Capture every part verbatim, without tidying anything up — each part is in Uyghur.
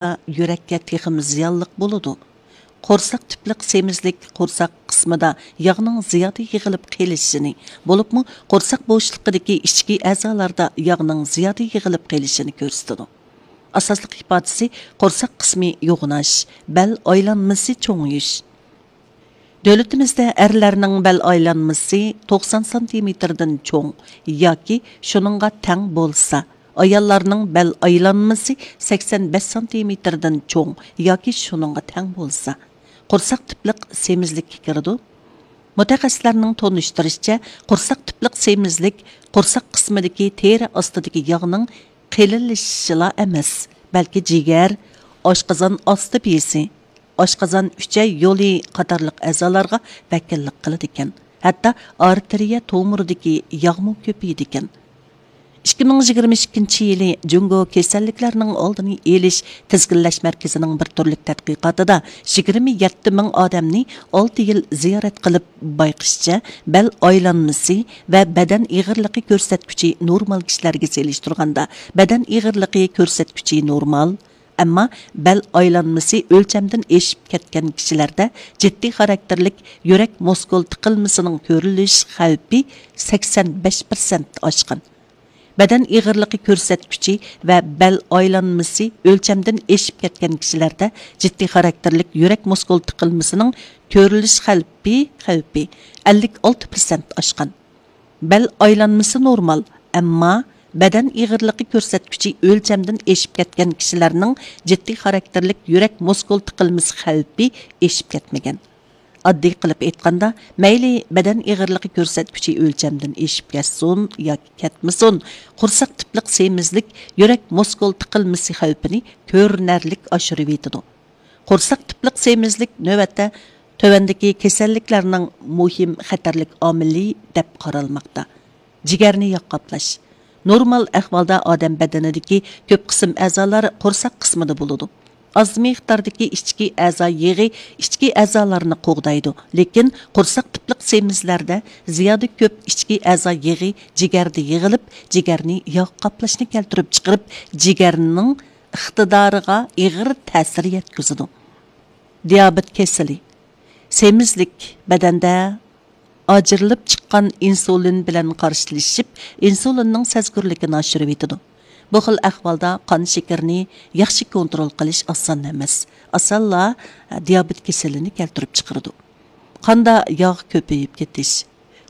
يۈرەككە تېخىمۇ زىيانلىق بولىدۇ. قورساق تۈپلۈك سېمىزلىك قورساق قىسمىدا ياغنىڭ زىيادە يىغىلىپ قېلىشىنى، بولۇپمۇ قورساق بوشلۇقىدىكى ئىچكى ئەزالاردا ياغنىڭ زىيادە يىغىلىپ قېلىشىنى كۆرسىتىدۇ. ئاساسلىق ئىپادىسى قورساق قىسمى يوغىناش، بەل ئايلانمىسى چوڭىيىش. دۆلىتىمىزدە ئەرلەرنىڭ بەل ئايلانمىسى توقسان سانتىمېتىردىن چوڭ ياكى شۇنىڭغا تەڭ بولسا، ئاياللارنىڭ بەل ئايلانمىسى سەكسەن بەش سانتىمېتىردىن چوڭ ياكى شۇنىڭغا تەڭ بولسا، قورساق تۈپلۈك سېمىزلىككە كىرىدۇ. مۇتەخەسسىسلەرنىڭ تونۇشتۇرۇشىچە، قورساق تۈپلۈك سېمىزلىك قورساق قىسمىدىكى تېرە ئاستىدىكى ياغنىڭ قېلىنلىشىشىلا ئەمەس، بەلكى جىگەر، ئاشقازان ئاستى بېزى، ئاشقازان ئۈچەي يولى قاتارلىق ئەزالارغا ۋەكىللىك قىلىدىكەن. ھەتتا ئارتېرىيە تومۇرىدىكى ياغمۇ كۆپىيىدىكەن. ئىككى مىڭ يىگىرمە ئىككىنچى يىلى جۇڭگو كېسەللىكلەرنىڭ ئالدىنى ئېلىش، تىزگىنلەش مەركىزىنىڭ بىر تۈرلۈك تەتقىقاتىدا يىگىرمە يەتتە مىڭ ئادەمنى ئالتە يىل زىيارەت قىلىپ بايقىشىچە، بەل ئايلانمىسى ۋە بەدەن ئېغىرلىقى كۆرسەتكۈچى نورمال كىشىلەرگە سېلىشتۇرغاندا، بەدەن ئېغىرلىقى كۆرسەتكۈچى نورمال، ئەمما بەل ئايلانمىسى ئۆلچەمدىن ئېشىپ كەتكەن كىشىلەردە جىددىي خاراكتېرلىك يۈرەك مۇسكۇل تىقىلمىسىنىڭ كۆرۈلۈش خەۋپى سەكسەن بەش پىرسەنت ئاشقان. بەدەن ئېغىرلىقى كۆرسەتكۈچى ۋە بەل ئايلانمىسى ئۆلچەمدىن ئېشىپ كەتكەن كىشىلەردە جىددىي خاراكتېرلىك يۈرەك مۇسكۇل تىقىلمىسىنىڭ كۆرۈلۈش خەۋپى، خەۋپى ئەللىك ئالتە پىرسەنت ئاشقان. بەل ئايلانمىسى نورمال، ئەمما بەدەن ئېغىرلىقى كۆرسەتكۈچى ئۆلچەمدىن ئېشىپ كەتكەن كىشىلەرنىڭ جىددىي خاراكتېرلىك يۈرەك مۇسكۇل تىقىلمىسى خەۋپى ئېشىپ كەتمىگەن. ئاددىي قىلىپ ئېيتقاندا، مەيلى بەدەن ئېغىرلىقى كۆرسەتكۈچى ئۆلچەمدىن ئېشىپ كەتسۇن ياكى كەتمىسۇن، قورساق تۈپلۈك سېمىزلىك يۈرەك مۇسكۇل تىقىلمىسى خەۋپىنى كۆرۈنەرلىك ئاشۇرۇۋېتىدۇ. قورساق تۈپلۈك سېمىزلىك نۆۋەتتە تۆۋەندىكى كېسەللىكلەرنىڭ مۇھىم خەتەرلىك ئامىلى دەپ قارالماقتا. جىگەرنى ياغ قاپلاش. نورمال ئەھۋالدا ئادەم بەدىنىدىكى كۆپ قىسىم ئەزالار قورساق قىسمىدا بولىدۇ. ئاز مىقداردىكى ئىچكى ئەزا يېغى ئىچكى ئەزالارنى قوغدايدۇ، لېكىن قورساق تۈپلۈك سېمىزلەردە زىيادە كۆپ ئىچكى ئەزا يېغى جىگەردە يىغىلىپ، جىگەرنى ياغ قاپلاشنى كەلتۈرۈپ چىقىرىپ، جىگەرنىڭ ئىقتىدارىغا ئېغىر تەسىر يەتكۈزىدۇ. دىيابېت كېسىلى. سېمىزلىك بەدەندە ئاجرىلىپ چىققان ئىنسۇلىن بىلەن قارشىلىشىپ، ئىنسۇلىننىڭ سەزگۈرلۈكىنى ئاشۇرۇۋېتىدۇ. بۇ خىل ئەھۋالدا قان شېكىرىنى ياخشى كونترول قىلىش ئاسان ئەمەس. ئاسانلا دىيابېت كېسىلىنى كەلتۈرۈپ چىقىرىدۇ. قاندا ياغ كۆپىيىپ كېتىش.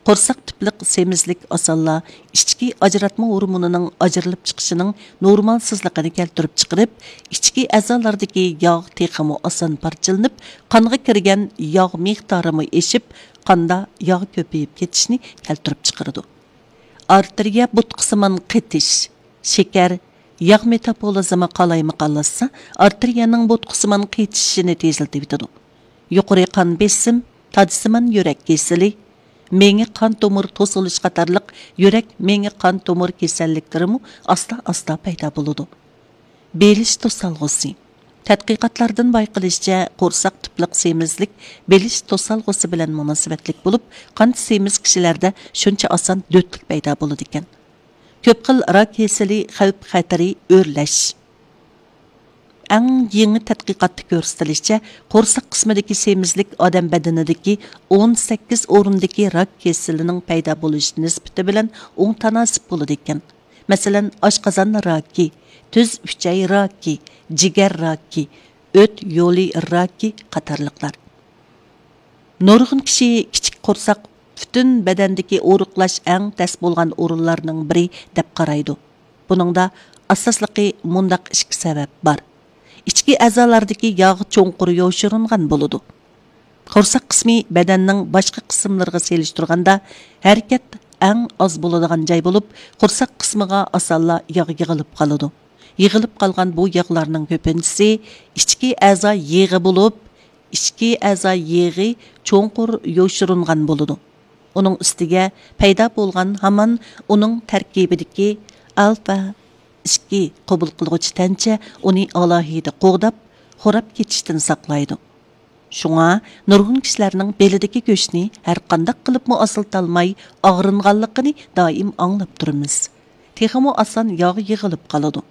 قورساق تۈپلۈك سېمىزلىك ئاسانلا ئىچكى ئاجراتما ھورمونىنىڭ ئاجرىلىپ چىقىشىنىڭ نورمالسىزلىقىنى كەلتۈرۈپ چىقىرىپ، ئىچكى ئەزالاردىكى ياغ تېخىمۇ ئاسان پارچىلىنىپ، قانغا كىرگەن ياغ مىقدارىمۇ ئېشىپ، قاندا ياغ كۆپىيىپ كېتىشنى كەلتۈرۈپ چىقىرىدۇ. ئارتېرىيە بوتقىسىمان قېتىش، شېكەر، ياغ مېتابولىزمى قالايمىقانلاشسا، ئارتېرىيەنىڭ بوتقىسىمان قېتىشىشىنى تېزلىتىۋېتىدۇ. يۇقىرى قان بېسىم، تاجسىمان يۈرەك كېسىلى، مېڭە قان تومۇر توسۇلۇش قاتارلىق يۈرەك مېڭە قان تومۇر كېسەللىكلىرىمۇ ئاستا-ئاستا پەيدا بولىدۇ. بېلىش توسالغۇسى. تەتقىقاتلاردىن بايقىلىشىچە، قورساق تۈپلۈك سېمىزلىك بېلىش توسالغۇسى بىلەن مۇناسىۋەتلىك بولۇپ، قانت سېمىز كىشىلەردە شۇنچە ئاسان دۆتلۈك پەيدا بولىدىكەن. كۆپ خىل راك كېسىلى خەۋپ خەتىرى ئۆرلەش. ئەڭ يېڭى تەتقىقاتتا كۆرسىتىلىشىچە، قورساق قىسمىدىكى سېمىزلىك ئادەم بەدىنىدىكى ئون سەككىز ئورۇندىكى راك كېسىلىنىڭ پەيدا بولۇش نىسبىتى بىلەن ئوڭ تاناسىپ بولىدىكەن. مەسىلەن، ئاشقازان راكى، تۈز ئۈچەي راكى، جىگەر راكى، ئۆت يولى راكى قاتارلىقلار. نۇرغۇن كىشى كىچىك قورساق پۈتۈن بەدەندىكى ئورۇقلاش ئەڭ تەس بولغان ئورۇنلارنىڭ بىرى دەپ قارايدۇ. بۇنىڭدا ئاساسلىقى مۇنداق ئىككى سەۋەب بار. ئىچكى ئەزالاردىكى ياغ چوڭقۇر يوشۇرۇنغان بولىدۇ. قورساق قىسمى بەدەننىڭ باشقا قىسىملىرىغا سېلىشتۇرغاندا ھەرىكەت ئەڭ ئاز بولىدىغان جاي بولۇپ، قورساق قىسمىغا ئاسانلا ياغ يىغىلىپ قالىدۇ. يىغىلىپ قالغان بۇ ياغلارنىڭ كۆپىنچىسى ئىچكى ئەزا يېغى بولۇپ، ئىچكى ئەزا يېغى چوڭقۇر يوشۇرۇنغان بولىدۇ. ئۇنىڭ ئۈستىگە پەيدا بولغان ھامان ئۇنىڭ تەركىبىدىكى ئالفا ئىككى قوبۇل قىلغۇچى تەنچە ئۇنى ئالاھىدە قوغداپ، خوراپ كېتىشتىن ساقلايدۇ. شۇڭا نۇرغۇن كىشىلەرنىڭ بېلىدىكى گۆشنى ھەرقانداق قىلىپمۇ ئاسىلتالماي ئاغرىنغانلىقىنى دائىم ئاڭلاپ تۇرىمىز. تېخىمۇ ئاسان ياغ يىغىلىپ قالىدۇ.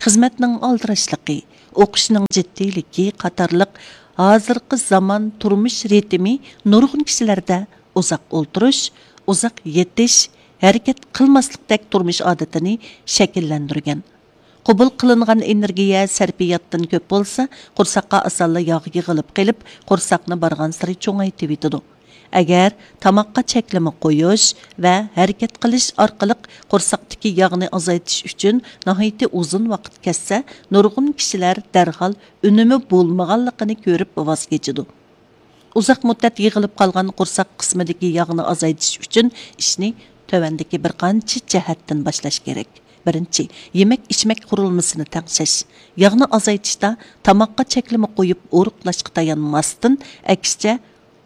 خىزمەتنىڭ ئالدىراشلىقى، ئوقۇشنىڭ جىددىيلىكى قاتارلىق ھازىرقى زامان تۇرمۇش رىتىمى نۇرغۇن كىشىلەردە ئۇزاق ئولتۇرۇش، ئۇزاق يېتىش، ھەرىكەت قىلماسلىقتەك تۇرمۇش ئادىتىنى شەكىللەندۈرگەن. قوبۇل قىلىنغان ئېنېرگىيە سەرپىياتتىن كۆپ بولسا، قورساققا ئاسانلا ياغ يىغىلىپ قېلىپ، قورساقنى بارغانسېرى چوڭايتىۋېتىدۇ. ئەگەر تاماققا چەكلىمە قويۇش ۋە ھەرىكەت قىلىش ئارقىلىق قورساقتىكى ياغنى ئازايتىش ئۈچۈن ناھايىتى ئۇزۇن ۋاقىت كەتسە، نۇرغۇن كىشىلەر دەرھال ئۈنۈمى بولمىغانلىقىنى كۆرۈپ ۋاز كېچىدۇ. ئۇزاق مۇددەت يىغىلىپ قالغان قورساق قىسمىدىكى ياغنى ئازايتىش ئۈچۈن ئىشنى تۆۋەندىكى بىر قانچە جەھەتتىن باشلاش كېرەك. بىرىنچى، يېمەك-ئىچمەك قۇرۇلمىسىنى تەڭشەش. ياغنى ئازايتىشتا تاماققا چەكلىمە قويۇپ ئورۇقلاشقا تايانماستىن، ئەكسىچە،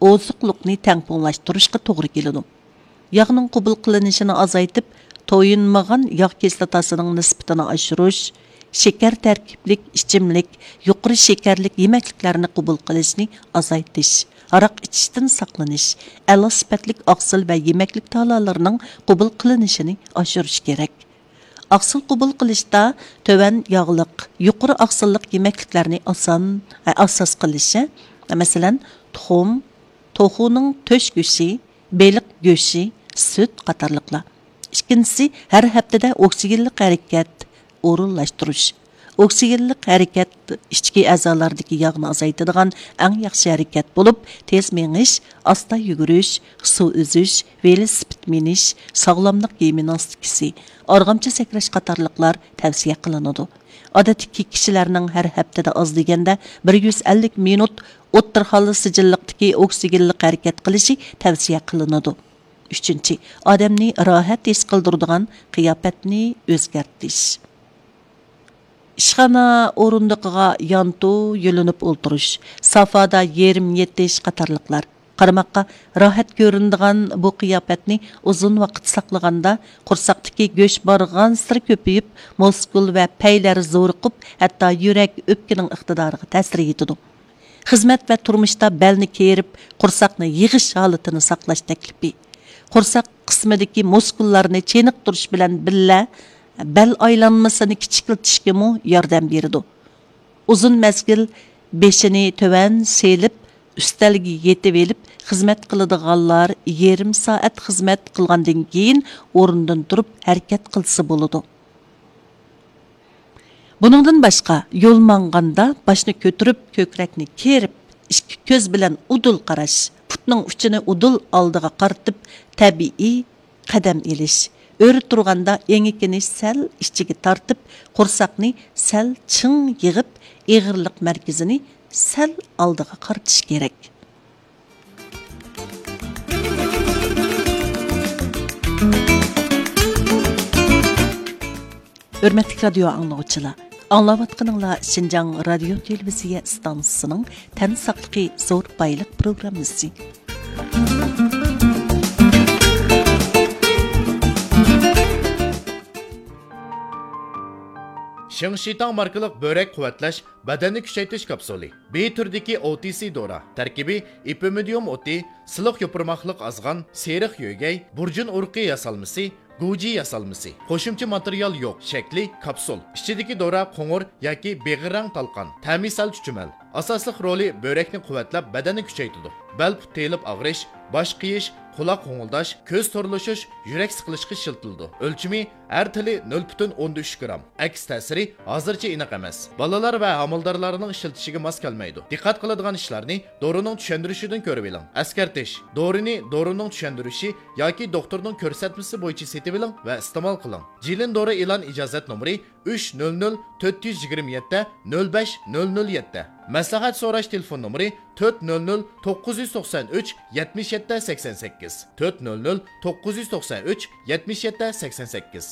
ئوزۇقلۇقنى تەڭپۇڭلاشتۇرۇشقا توغرا كېلىدۇ. ياغنىڭ قوبۇل قىلىنىشىنى ئازايتىپ، تويۇنمىغان ياغ كىسلاتاسىنىڭ نىسبىتىنى ئاشۇرۇش، شېكەر تەركىبلىك ئىچىملىك، يۇقىرى شېكەرلىك يېمەكلىكلەرنى قوبۇل قىلىشنى ئازايتىش، ھاراق ئىچىشتىن ساقلىنىش، ئەلا سۈپەتلىك ئاقسىل ۋە يېمەكلىك تالالىرىنىڭ قوبۇل قىلىنىشىنى ئاشۇرۇش كېرەك. ئاقسىل قوبۇل قىلىشتا تۆۋەن ياغلىق، يۇقىرى ئاقسىللىق يېمەكلىكلەرنى ئاسان، ئاساس قىلىشى، مەسىلەن، تۇخۇم، توخۇنىڭ تۆش گۆشى، بېلىق گۆشى، سۈت قاتارلىقلار. ئىككىنچىسى، ھەر ھەپتىدە ئوكسىگېنلىق ھەرىكەت ئورۇنلاشتۇرۇش. ئوكسىگېنلىق ھەرىكەت ئىچكى ئەزالاردىكى ياغنى ئازايتىدىغان ئەڭ ياخشى ھەرىكەت بولۇپ، تېز مېڭىش، ئاستا يۈگۈرۈش، سۇ ئۈزۈش، ۋېلىسىپىت مىنىش، ساغلاملىق گىمناستىكىسى، ئارغامچا سەكرەش قاتارلىقلار تەۋسىيە قىلىنىدۇ. ئادەتتىكى كىشىلەرنىڭ ھەر ھەپتىدە ئاز دېگەندە بىر يۈز ئەللىك مىنۇت ئوتتۇرا خاللى سىجىللىقتىكى ئوكسىگېنلىق ھەرىكەت قىلىشى تەۋسىيە قىلىنىدۇ. ئۈچىنچى، ئادەمنى راھەت ھېس قىلدۇرىدىغان قىياپەتنى ئۆزگەرتىش. ئىشخانا ئورۇندۇقىغا يانتۇ يۆلىنىپ ئولتۇرۇش، سافادا يېرىم يېتىش قاتارلىقلار. قارىماققا راھەت كۆرۈنىدىغان بۇ قىياپەتنى ئۇزۇن ۋاقىت ساقلىغاندا، قورساقتىكى گۆش بارغانسېرى كۆپىيىپ، مۇسكۇل ۋە پەيلەر زورۇقۇپ، ھەتتا يۈرەك، ئۆپكىنىڭ ئىقتىدارىغا تەسىر يېتىدۇ. خىزمەت ۋە تۇرمۇشتا بەلنى كېرىپ، قورساقنى يىغىش ھالىتىنى ساقلاش تەكلىپى. قورساق قىسمىدىكى مۇسكۇللارنى چېنىقتۇرۇش بىلەن بىللە، بەل ئايلانمىسىنى كىچىكلىتىشكىمۇ ياردەم بېرىدۇ. ئۇزۇن مەزگىل بېشىنى تۆۋەن سېلىپ، ئۈستەلگە يېتىۋېلىپ خىزمەت قىلىدىغانلار يېرىم سائەت خىزمەت قىلغاندىن كېيىن ئورنىدىن تۇرۇپ ھەرىكەت قىلسا بولىدۇ. بۇنىڭدىن باشقا، يول ماڭغاندا باشنى كۆتۈرۈپ، كۆكرەكنى كېرىپ، ئىككى كۆز بىلەن ئۇدۇل قاراش، پۇتنىڭ ئۇچىنى ئۇدۇل ئالدىغا قارىتىپ، تەبىئىي قەدەم ئېلىش، ئۆرە تۇرغاندا ئېڭىكىنى سەل ئىچىگە تارتىپ، قورساقنى سەل چىڭ يىغىپ، ئېغىرلىق مەركىزىنى سەل ئالدىغا قارىتىش كېرەك. ھۆرمەتلىك رادىيو ئاڭلىغۇچىلار، ئاڭلاۋاتقىنىڭلار شىنجاڭ رادىيو تېلېۋىزىيە ئىستانسىسىنىڭ تەن ساقلىقى زور بايلىق پروگراممىسى. شېڭ شىتاڭ ماركىلىق بۆرەك قۇۋۋەتلەش بەدەننى كۈچەيتىش كاپسۇلى. بى تۈرىدىكى ئو تى سى دورا. تەركىبى ئېپىمىدىيۇم ئوتى، سىلىق يوپۇرماقلىق ئازغان، سېرىق يۆگەي، بۇرجۇن ئۇرۇقى ياسالمىسى، گۇجى ياسالمىسى. قوشۇمچە ماتېرىيال يوق. شەكلى كاپسۇل. ئىچىدىكى دورا قوڭۇر ياكى بېغىر رەڭ تالقان. تەمى سەل چۈچۈمەل. ئاساسلىق رولى بۆرەكنى قۇۋۋەتلەپ، بەدەننى كۈچەيتىدۇ. بەل پۇت تېيىلىپ ئاغرىش، باش قېيىش، قۇلاق غوڭۇلداش، كۆز تورلىشىش، يۈرەك سىقىلىشقا ئىشلىتىلىدۇ. ئۆلچىمى ھەر تىلى نۆل پۈتۈن ئوندىن ئۈچ گرام. ئەكس تەسىرى ھازىرچە ئېنىق ئەمەس. بالىلار ۋە ھامىلىدارلارنىڭ ئىشلىتىشىگە ماس كەلمەيدۇ. دىققەت قىلىدىغان ئىشلارنى دورىنىڭ چۈشەندۈرۈشىدىن كۆرۈۋېلىڭ. ئەسكەرتىش: دورىنى دورىنىڭ چۈشەندۈرۈشى ياكى دوختۇرنىڭ كۆرسەتمىسى بويىچە سېتىۋېلىڭ ۋە ئىستېمال قىلىڭ. جىلىن دورا ئېلان ئىجازەت نومۇرى ئۈچ نۆل نۆل تۆت يۈز يىگىرمە يەتتە نۆل بەش نۆل نۆل يەتتە. مەسلىھەت سوراش تېلېفون نومۇرى تۆت نۆل نۆل توققۇز يۈز توقسان ئۈچ يەتمىش يەتتە سەكسەن سەككىز، تۆت نۆل نۆل توققۇز يۈز توقسان ئۈچ يەتمىش يەتتە سەكسەن سەككىز.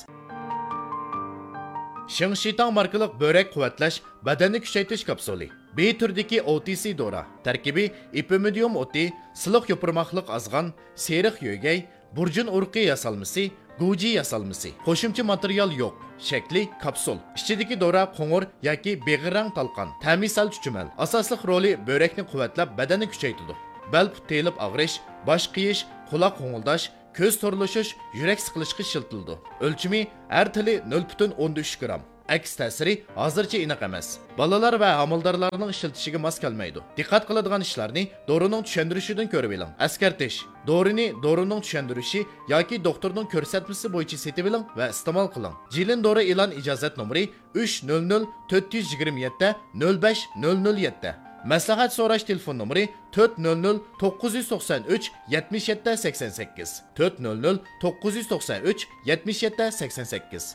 شېڭ شىتاڭ ماركىلىق بۆرەك قۇۋۋەتلەش بەدەننى كۈچەيتىش كاپسۇلى. بى تۈرىدىكى ئو تى سى دورا. تەركىبى ئېپىمىدىيۇم ئوتى، سىلىق يوپۇرماقلىق ئازغان، سېرىق يۆگەي، بۇرجۇن ئۇرۇقى ياسالمىسى، گۇجى ياسالمىسى. قوشۇمچە ماتېرىيال يوق. شەكلى كاپسۇل. ئىچىدىكى دورا قوڭۇر ياكى بېغىر رەڭ تالقان. تەمى سەل چۈچۈمەل. ئاساسلىق رولى بۆرەكنى قۇۋۋەتلەپ، بەدەننى كۈچەيتىدۇ. بەل پۇت تېيىلىپ ئاغرىش، باش قېيىش، قۇلاق غوڭۇلداش، كۆز تورلىشىش، يۈرەك سىقىلىشقا ئىشلىتىلىدۇ. ئۆلچىمى ھەر تىلى نۆل پۈتۈن ئوندىن ئۈچ گرام. ئەكس تەسىرى ھازىرچە ئېنىق ئەمەس. بالىلار ۋە ھامىلىدارلارنىڭ ئىشلىتىشىگە ماس كەلمەيدۇ. دىققەت قىلىدىغان ئىشلارنى دورىنىڭ چۈشەندۈرۈشىدىن كۆرۈۋېلىڭ. ئەسكەرتىش: دورىنى دورىنىڭ چۈشەندۈرۈشى ياكى دوختۇرنىڭ كۆرسەتمىسى بويىچە سېتىۋېلىڭ ۋە ئىستېمال قىلىڭ. جىلىن دورا ئېلان ئىجازەت نومۇرى ئۈچ نۆل نۆل تۆت يۈز يىگىرمە يەتتە نۆل بەش نۆل نۆل يەتتە. مەسلىھەت سوراش تېلېفون نومۇرى تۆت نۆل نۆل توققۇز يۈز توقسان ئۈچ يەتمىش يەتتە سەكسەن سەككىز، تۆت نۆل نۆل توققۇز يۈز توقسان ئۈچ يەتمىش يەتتە سەكسەن سەككىز.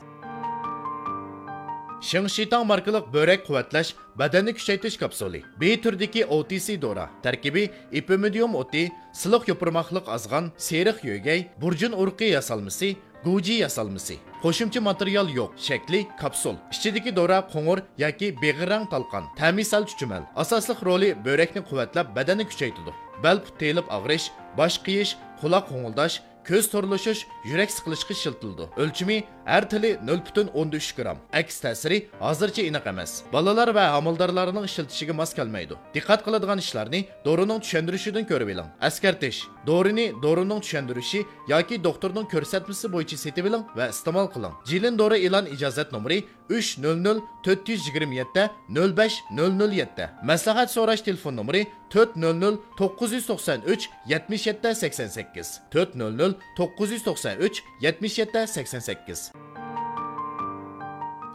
شىڭشىتاڭ ماركىلىق بۆرەك قۇۋۋەتلەش، بەدەننى كۈچەيتىش كاپسۇلى. بى تۈرىدىكى ئو تى سى دورا. تەركىبى: ئېپىمىدىيۇم ئوتى، سىلىق يوپۇرماقلىق ئازغان، سېرىق يۆگەي، بۇرجۇن ئۇرۇقى ياسالمىسى، گۇجى ياسالمىسى. قوشۇمچە ماتېرىيال يوق. شەكلى: كاپسۇل. ئىچىدىكى دورا قوڭۇر ياكى بېغىر رەڭ تالقان. تەمى سەل چۈچۈمەل. ئاساسلىق رولى بۆرەكنى قۇۋۋەتلەپ، بەدەننى كۈچەيتىدۇ. بەل پۇت تېيىلىپ ئاغرىش، باش قېيىش، قۇلاق غوڭۇلداش، كۆز تورلىشىش، يۈرەك سىقىلىشقا ئىشلىتىلىدۇ. ئۆلچىمى: ھەر تىلى نۆل پۈتۈن ئوندىن ئۈچ گرام. ئەكس تەسىرى ھازىرچە ئېنىق ئەمەس. بالىلار ۋە ھامىلىدارلارنىڭ ئىشلىتىشىگە ماس كەلمەيدۇ. دىققەت قىلىدىغان ئىشلارنى دورىنىڭ چۈشەندۈرۈشىدىن كۆرۈۋېلىڭ. ئەسكەرتىش: دورىنى دورىنىڭ چۈشەندۈرۈشى ياكى دوختۇرنىڭ كۆرسەتمىسى بويىچە سېتىۋېلىڭ ۋە ئىستېمال قىلىڭ. جىلىن دورا ئېلان ئىجازەت نومۇرى ئۈچ نۆل نۆل تۆت يۈز يىگىرمە يەتتە نۆل بەش نۆل نۆل يەتتە. مەسلىھەت سوراش تېلېفون نومۇرى تۆت نۆل نۆل توققۇز يۈز توقسان ئۈچ يەتمىش يەتتە سەكسەن سەككىز، تۆت نۆل نۆل توققۇز يۈز توقسان ئۈچ يەتمىش يەتتە سەكسەن سەككىز.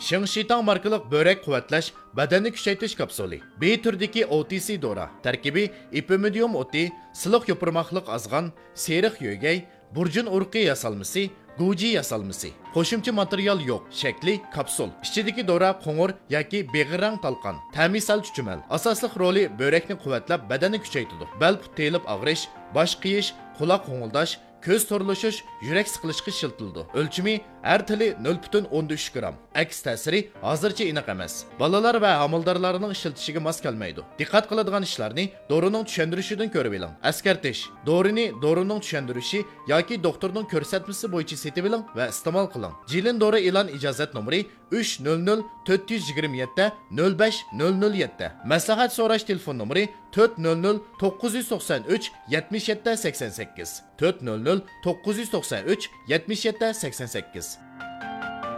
شىڭشىتاڭ ماركىلىق بۆرەك قۇۋۋەتلەش، بەدەننى كۈچەيتىش كاپسۇلى. بى تۈرىدىكى ئو تى سى دورا. تەركىبى: ئېپىمىدىيۇم ئوتى، سىلىق يوپۇرماقلىق ئازغان، سېرىق يۆگەي، بۇرجۇن ئۇرۇقى ياسالمىسى، گۇجى ياسالمىسى. قوشۇمچە ماتېرىيال يوق. شەكلى: كاپسۇل. ئىچىدىكى دورا قوڭۇر ياكى بېغىر رەڭ تالقان. تەمى سەل چۈچۈمەل. ئاساسلىق رولى بۆرەكنى قۇۋۋەتلەپ، بەدەننى كۈچەيتىدۇ. بەل پۇت تېيىلىپ ئاغرىش، باش قېيىش، قۇلاق غوڭۇلداش، كۆز تورلىشىش، يۈرەك سىقىلىشقا ئىشلىتىلىدۇ. ئۆلچىمى: ھەر تىلى نۆل پۈتۈن ئوندىن ئۈچ گرام. ئەكس تەسىرى ھازىرچە ئېنىق ئەمەس. بالىلار ۋە ھامىلىدارلارنىڭ ئىشلىتىشىگە ماس كەلمەيدۇ. دىققەت قىلىدىغان ئىشلارنى دورىنىڭ چۈشەندۈرۈشىدىن كۆرۈۋېلىڭ. ئەسكەرتىش: دورىنى دورىنىڭ چۈشەندۈرۈشى ياكى دوختۇرنىڭ كۆرسەتمىسى بويىچە سېتىۋېلىڭ ۋە ئىستېمال قىلىڭ. جىلىن دورا ئېلان ئىجازەت نومۇرى ئۈچ نۆل نۆل تۆت يۈز يىگىرمە يەتتە نۆل بەش نۆل نۆل يەتتە. مەسلىھەت سوراش تېلېفون نومۇرى تۆت نۆل نۆل توققۇز يۈز توقسان ئۈچ يەتمىش يەتتە سەكسەن سەككىز، تۆت نۆل نۆل توققۇز يۈز توقسان ئۈچ يەتمىش يەتتە سەكسەن سەككىز.